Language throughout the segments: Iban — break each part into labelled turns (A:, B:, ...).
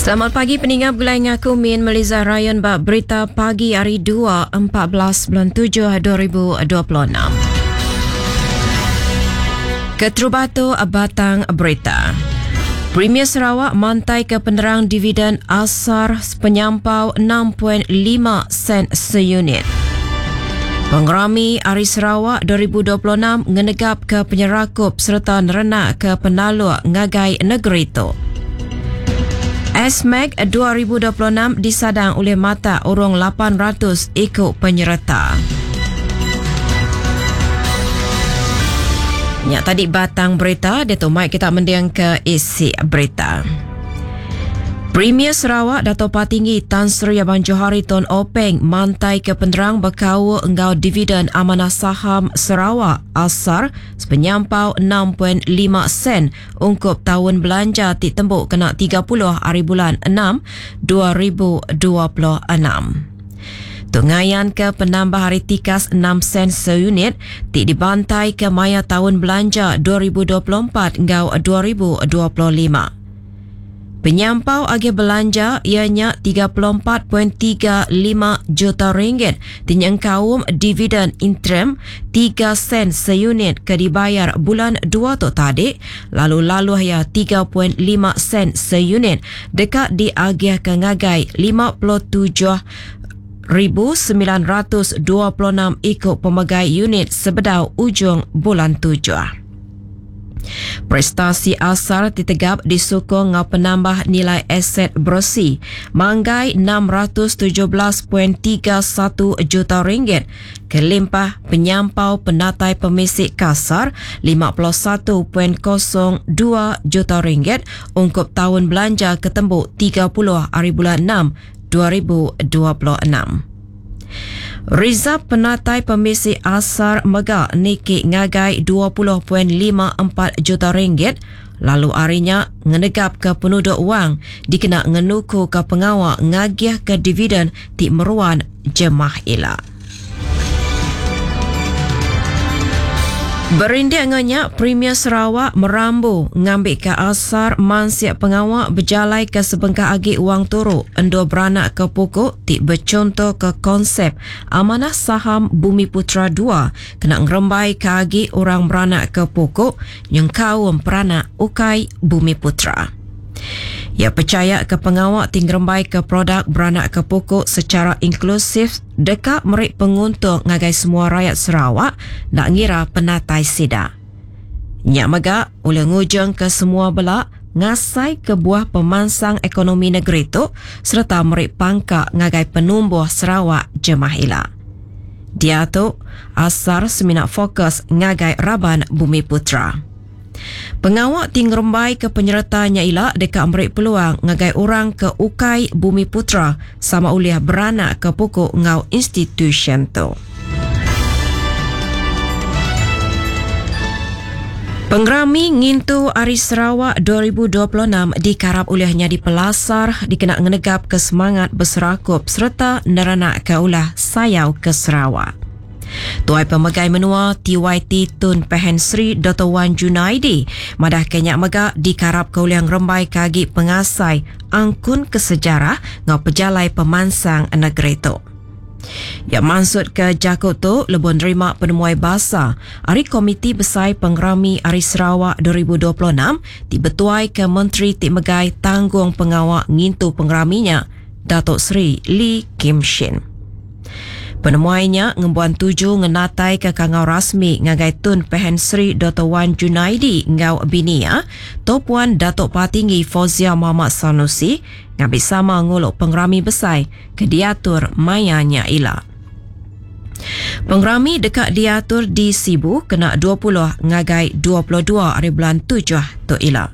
A: Selamat pagi peninga begulai ngaku Min Meliza Ryan ba berita pagi hari 2 14 bulan 7 2026. Keterubah tu batang berita. Premier Sarawak mantai ke penerang dividen asar penyampau 6.5 sen seunit. Pengerami Hari Sarawak 2026 ngenegapka penyerakup sereta nerenakka penaluk ngagai negeri tu. SMAC 2026 disadang ulih matak urung 800 iku penyereta. Nya tadi batang berita, diatu mai kita mendingka isi berita. Premier Sarawak Dato Patinggi Tan Sri Abang Johari Tun Openg mantai ke penerang bekaul enggau dividen amanah saham Sarawak asar sepenyampau 6.5 sen ungkup taun belanja ti tembu kena 30 hari bulan 6 2026. Tu ngayanka penambah ari tikas 6 sen seunit ti dibantaika maya taun belanja 2024 enggau 2025. Penyampau agih belanja iya nya 34.35 juta ringgit ti nyengkaum dividen interim 3 sen seunit ke dibayar bulan dua tu tadi lalu laluh iya 3.5 sen seunit deka diagihka ngagai 57,926 iku pemegai unit sebedau ujung bulan tujuh. Prestasi asal ti tegap disukung enggau penambah nilai aset beresi manggai 617.31 juta ringgit kelimpah penyampau penatai pemisi kasar 51.02 juta ringgit ungkup taun belanja ke tembu 30 hari bulan 6 2026. Rizab penatai pemisi asar mega niki ngagai 20.54 juta ringgit lalu ari nya ngenegapka penuduk wang dikena ngenukuka pengawa ngagihka dividen ti meruan jemah ila. Berindik enggau nya, Premier Sarawak merambu ngambika asar mansik pengawa bejalaika sebengkah agi wang turu endur beranakka puku ti bechuntoka konsep Amanah Saham Bumiputera dua kena ngerembaika agi orang beranakka puku nyengkaum peranak ukai Bumiputera. Iya pechaya ke pengawa ti ngerembaika produk beranakka puku sechara inklusif deka meri penguntung ngagai semua rayat Sarawak enda ngira penatai sida. Nya mega ulih ngujungka semua bela ngasaika buah pemansang ekonomi negeri tu sereta meri pangka ngagai penumbuh Sarawak jemah ila. Diatu, asar semina fokus ngagai raban Bumiputera. Pengawa ti ngerembaika penyereta nya ila deka meri peluang ngagai orang ke ukai Bumiputera sama ulih beranakka puku enggau institusyen tu. Pengerami Ngintu Hari Sarawak 2026 dikarap ulih nyadi pelasar dikena ngenegapka semangat beserakup sereta nerenakka ulah sayau ke Sarawak. Tuai Pemegai Menua TYT Tun Pehin Sri Doktor Wan Junaidi madahka nya mega dikarapka ulih ngerembaika agi pengasai angkun ke sejarah enggau pejalai pemansang negeri tu. Iya mansutka jaku tu lebuh nerima penemuai basa ari Komiti Besai Pengerami Hari Sarawak 2026 ti betuaika Menteri ti megai tanggungpengawa ngintu pengerami nya, Datuk Seri Lee Kim Shin. Penemuai nya ngembuan tuju ngenataika kangau rasmi ngagai Tun Pehin Sri Doktor Wan Junaidi enggau bini iya, Toh Puan Datuk Patinggi Fauziah Mohd Sanusi ngambi sama ngulu pengerami besai ke diatur maya nya ila. Pengerami deka diatur di Sibu kena 20 ngagai 22 ari bulan tujuh tu ila.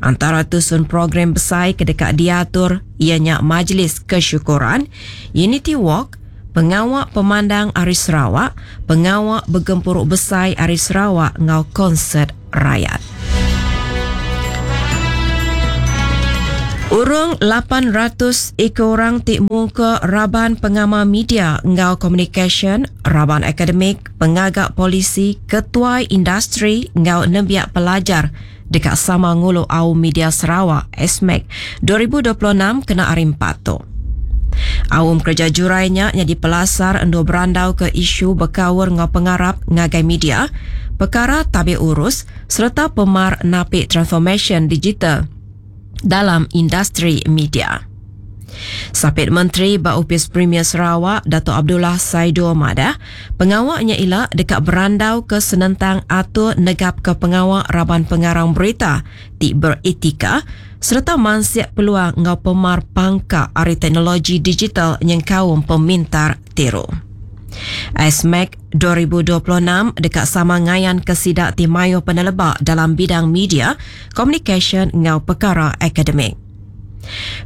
A: Antara tusun program besai ke deka diatur iya nya Majlis Kesyukuran, Unity Walk, Pengawa Pemandang Ari Sarawak, Pengawa Begempuru Besai Ari Sarawak enggau Konsert Rayat. Urung 800 iku orang ti mungka raban pengamal media enggau komunikasyen, raban akademik, pengaga polisi, ketuai industri enggau nembiak pelajar. deka sama ngulu Aum Media Sarawak, SMEC, 2026 kena Hari Empat tu. Aum kereja jurai nya nyadi pelasar endur berandauka isu bekaul enggau pengarap ngagai media, pekara tabik urus sereta pemar napi transformasyen digital dalam industri media. Sapit Menteri ba Opis Premier Sarawak Datuk Abdullah Saidol madah, pengawa nya ila deka berandauka senentang atur negapka pengawa raban pengarang berita ti beretika sereta mansik peluang enggau pemar pangka ari teknologi digital nyengkaum pemintar tiru. SMEC 2026 deka sama ngayanka sida ti mayuh peneleba dalam bidang media, komunikasyen enggau pekara akademik.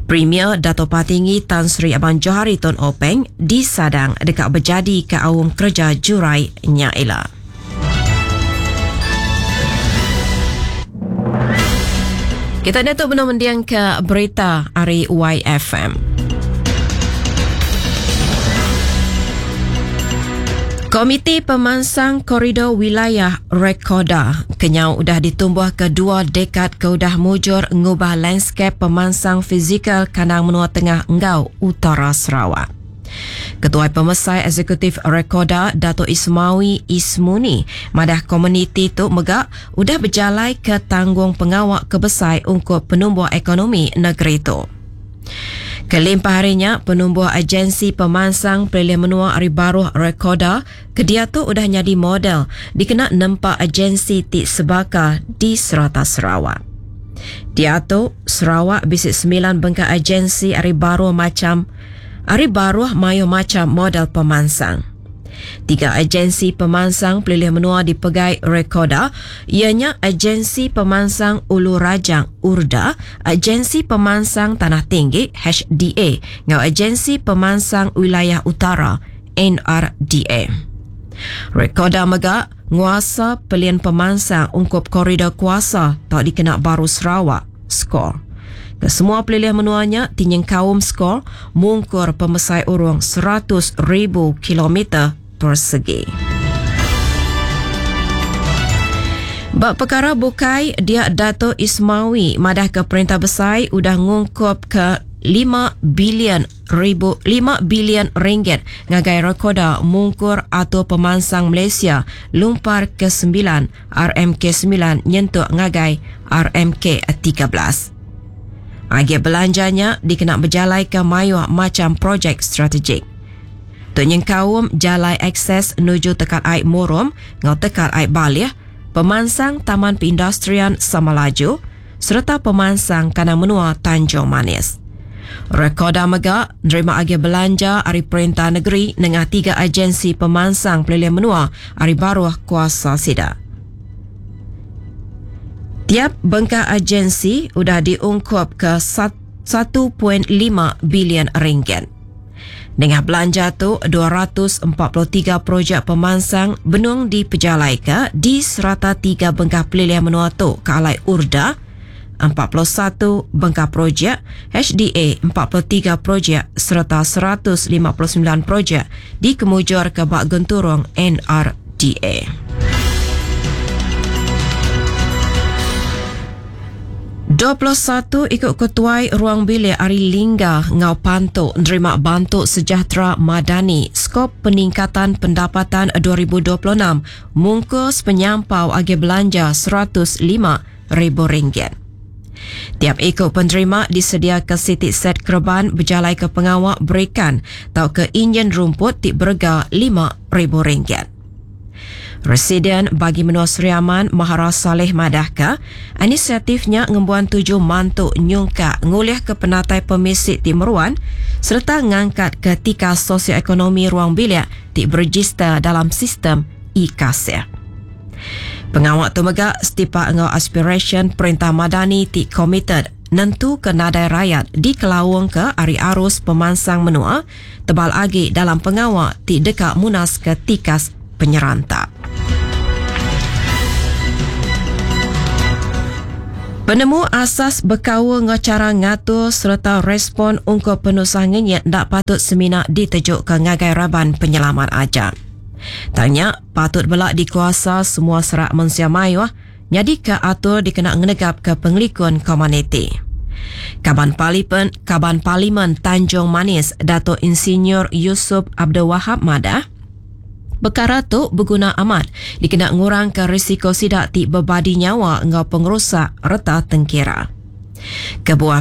A: Premier Dato Patinggi Tan Sri Abang Johari Tun Openg disadang deka bejadika aum kereja jurai nya ila. Kita diatu benung mendingka berita ari YFM. Komiti Pemansang Koridor Wilayah Rekoda kenyau udah ditumbuhka dua dekad ke udah mujur ngubah landskap pemansang fizikal kandang menua tengah enggau utara Sarawak. Ketuai Pemesai Eksekutif Rekoda Dato Ismawi Ismuni madah komuniti tu mega udah bejalaika tanggungpengawa ke besai ungkup penumbuh ekonomi negeri tu. Kelimpah ari nya, penumbuh Agensi Pemansang Pelilih Menua ari baruh Rekoda ke diatu udah nyadi model dikena nempa agensi ti sebaka di serata Sarawak. Diatu, Sarawak bisi semilan bengkah agensi ari baruh macham ari baruh mayuh macham model pemansang. Tiga agensi pemansang pelilih menua dipegai Rekoda iya nya Agensi Pemansang Ulu Rajang, URDA, Agensi Pemansang Tanah Tinggi, HDA, enggau Agensi Pemansang Wilayah Utara, NRDA. Rekoda mega nguasa pelin pemansang ungkup Koridor Kuasa tau dikena baru Sarawak, SCORE. Kesemua pelilih menua nya ti nyengkaum SCORE mungkur pemesai urung 100,000 kilometer persegi. Ba pekara bukai, dia Dato Ismawi madahka perintah besai udah ngungkupka 5 bilion ribu 5 bilion ringgit ngagai Rekoda Mungkur Atur Pemansang Malaysia Lumpar ke-9 RMK 9 nyentuk ngagai RMK 13. Agih belanja nya dikena bejalaika mayuh macham projek strategik. Tu nyengkaum jalai akses nuju Tekat Ai Murum enggau Tekat Ai Baleh, pemansang Taman Perindustrian Samalaju sereta pemansang kandang menua Tanjung Manis. Rekoda mega nerima agih belanja ari perintah negeri nengah tiga agensi pemansang pelilih menua ari baruh kuasa sida. Tiap bengkah agensi udah diungkupka 1.5 bilion ringgit. Nengah belanja tu, 243 projek pemansang benung dipejalaika di serata tiga bengkah pelilih menua tu ke alai URDA, 41 bengkah projek, HDA, 43 projek sereta 159 projek dikemujurka ba genturung NRDA. 21 iku ketuai ruang bilik ari Lingga enggau Pantu nerima Bantu Sejahtera Madani Skop Peningkatan Pendapatan 2026 mungkus penyampau agih belanja 105 ribu ringgit. Tiap iku penerima disediaka siti set kereban bejalaika pengawa berikan tauka injin rumput ti berega 5,000 ringgit. Residen Bagi Menua Sri Aman Mahara Salleh madahka, inisiatif nya ngembuan tuju mantu nyungkak ngulihka penatai pemisi ti meruan sereta ngangkatka tikas sosioekonomi ruang bilik ti berejista dalam sistem e-Kasih. Pengawa tu mega setipak enggau aspirasyen Perintah Madani ti komited nentuka nadai rayat dikelaungka ari arus pemansang menua tebal agi dalam pengawa ti deka munaska tikas penyeranta. Penemu asas bekaul enggau chara ngatur sereta respon ungkup penusah ngenyit enda patut semina ditejuka ngagai raban penyelamat aja. Tang nya patut bela dikuasa semua serak mensia mayuh. nyadika atur dikena ngenegapka pengelikun komuniti. Kaban Parlimen Kaban Parlimen Tanjung Manis Datuk Insinyur Yusuf Abdul Wahab madah, pekara tu beguna amat dikena ngurangka risiko sida ti bebadi nyawa enggau pengerusak reta tengkira. Kebuah.